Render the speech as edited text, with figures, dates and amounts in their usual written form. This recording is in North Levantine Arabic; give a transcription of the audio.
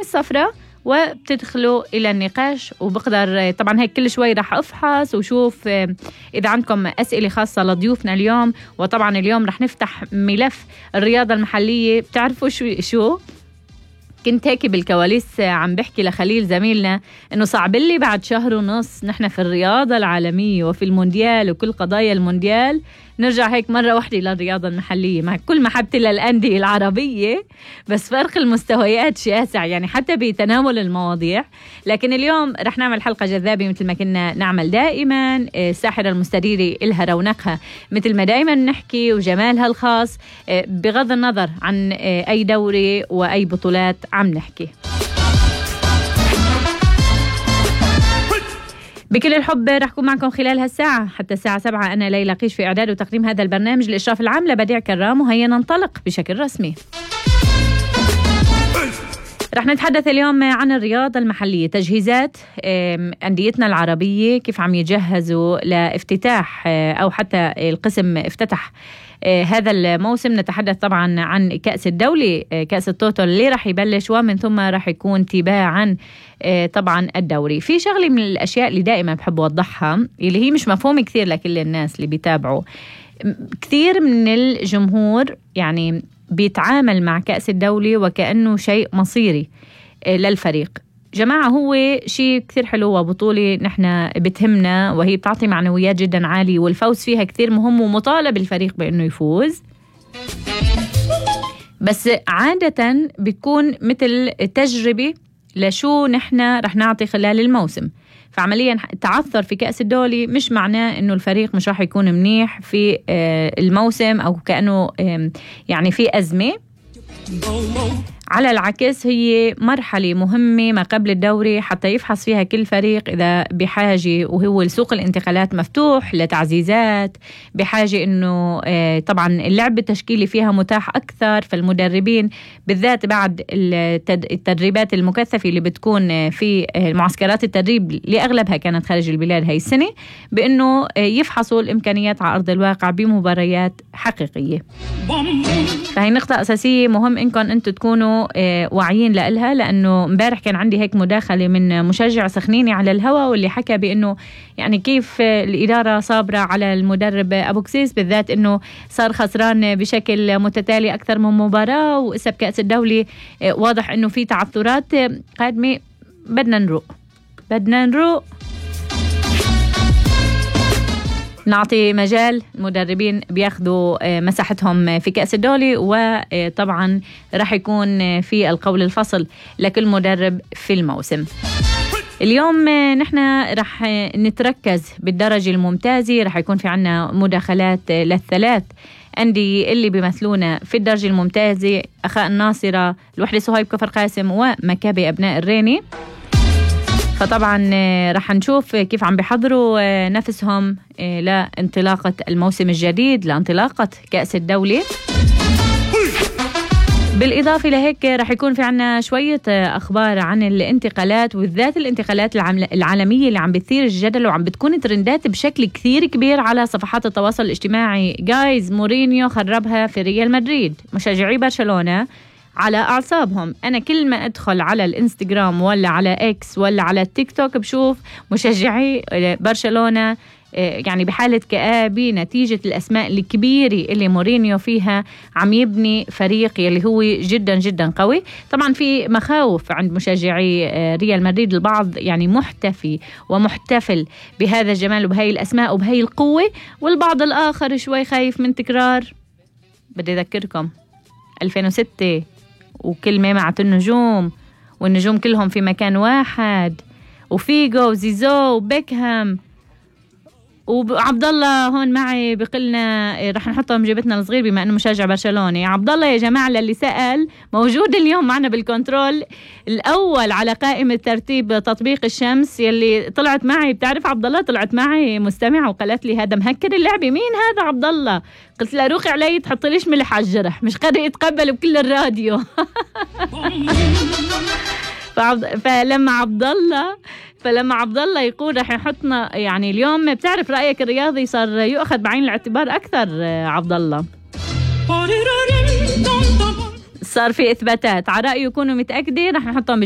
الصفراء وبتدخلوا إلى النقاش. وبقدر طبعا هيك كل شوي رح أفحص وشوف إذا عندكم أسئلة خاصة لضيوفنا اليوم. وطبعا اليوم رح نفتح ملف الرياضة المحلية. بتعرفوا شو كنت هيك بالكواليس عم بحكي لخليل زميلنا إنه صعب لي بعد شهر ونص نحن في الرياضة العالمية وفي المونديال وكل قضايا المونديال نرجع هيك مرة واحدة للرياضة المحلية، مع كل محبتي للأندية العربية بس فرق المستويات شاسع يعني حتى بتناول المواضيع. لكن اليوم رح نعمل حلقة جذابة مثل ما كنا نعمل دائما. الساحرة المستديرة إلها رونقها مثل ما دائما نحكي وجمالها الخاص بغض النظر عن أي دوري وأي بطولات عم نحكي. بكل الحب رح أكون معكم خلال هالساعة حتى الساعة 7. أنا ليلى قيش في إعداد وتقديم هذا البرنامج. الإشراف العام لبديع كرام. وهيا ننطلق بشكل رسمي. رح نتحدث اليوم عن الرياضة المحلية، تجهيزات أنديتنا العربية كيف عم يجهزوا لافتتاح أو حتى القسم افتتح هذا الموسم. نتحدث طبعا عن كأس الدولة، كأس التوتو اللي رح يبلش، ومن ثم رح يكون تباعا طبعا الدوري. في شغلة من الأشياء اللي دائما بحب أوضحها اللي هي مش مفهوم كثير لكل الناس اللي بيتابعوا. كثير من الجمهور يعني بيتعامل مع كأس الدولة وكأنه شيء مصيري للفريق. جماعة هو شيء كثير حلو وبطولة نحن بتهمنا وهي بتعطي معنويات جدا عالية والفوز فيها كثير مهم ومطالب الفريق بأنه يفوز. بس عادة بتكون مثل تجربة لشو نحن رح نعطي خلال الموسم. فعمليا تعثر في كأس الدولة مش معناه انه الفريق مش راح يكون منيح في الموسم او كأنه يعني في أزمة. على العكس هي مرحلة مهمة ما قبل الدوري حتى يفحص فيها كل فريق إذا بحاجة، وهو سوق الانتقالات مفتوح لتعزيزات، بحاجة إنه طبعا اللعب بالتشكيلي فيها متاح أكثر. فالمدربين بالذات بعد التدريبات المكثفة اللي بتكون في معسكرات التدريب اللي أغلبها كانت خارج البلاد هاي السنة، بإنه يفحصوا الإمكانيات على أرض الواقع بمباريات حقيقية. فهي نقطة أساسية مهم إنكم أنتوا تكونوا واعيين لها. لأنه امبارح كان عندي هيك مداخلة من مشجع سخنيني على الهواء واللي حكى بأنه يعني كيف الإدارة صابرة على المدرب أبو كسيس، بالذات أنه صار خسران بشكل متتالي أكثر من مباراة، وإسا بكأس الدولة واضح أنه في تعثرات قادمة. بدنا نروق نعطي مجال المدربين بياخدوا مساحتهم في كأس الدولة، وطبعا رح يكون في القول الفصل لكل مدرب في الموسم. اليوم نحن رح نتركز بالدرجة الممتازة. رح يكون في عنا مداخلات للثلاث أندية اللي بيمثلونا في الدرجة الممتازة: أخاء الناصرة، الوحدة صهيب كفر قاسم، ومكابي أبناء الريني. فطبعا رح نشوف كيف عم بيحضروا نفسهم لانطلاقة الموسم الجديد، لانطلاقة كأس الدولة. بالإضافة لهيك رح يكون في عنا شوية أخبار عن الانتقالات، وبالذات الانتقالات العالمية اللي عم بتثير الجدل وعم بتكون ترندات بشكل كثير كبير على صفحات التواصل الاجتماعي. جايز مورينيو خربها في ريال مدريد، مشجعي برشلونة على أعصابهم. أنا كل ما أدخل على الإنستغرام ولا على إكس ولا على التيك توك بشوف مشجعي برشلونة يعني بحالة كآبة نتيجة الأسماء الكبيرة اللي مورينيو فيها عم يبني فريق يلي هو جدا جدا قوي. طبعا في مخاوف عند مشجعي ريال مدريد، البعض يعني محتفي ومحتفل بهذا الجمال وبهاي الأسماء وبهاي القوة، والبعض الآخر شوي خايف من تكرار. بدي أذكركم 2006 وكل مع النجوم، والنجوم كلهم في مكان واحد، وفيجو وزيزو وبيكهام وعبد الله هون معي بقلنا رح نحطهم جيبتنا الصغير بما انه مشجع برشلوني. عبد الله يا جماعه للي سأل موجود اليوم معنا بالكنترول الاول على قائمه ترتيب تطبيق الشمس يلي طلعت معي. بتعرف عبد الله طلعت معي مستمعه وقالت لي هذا مهكر اللعبه، مين هذا عبد الله؟ قلت لها روقي علي تحط ليش ملح على الجرح، مش قادر يتقبل بكل الراديو. فلما عبد الله يقول رح يحطنا يعني اليوم، بتعرف رأيك الرياضي صار يؤخذ بعين الاعتبار أكثر. عبد الله صار في إثباتات على رأيه، يكونوا متأكدين رح نحطهم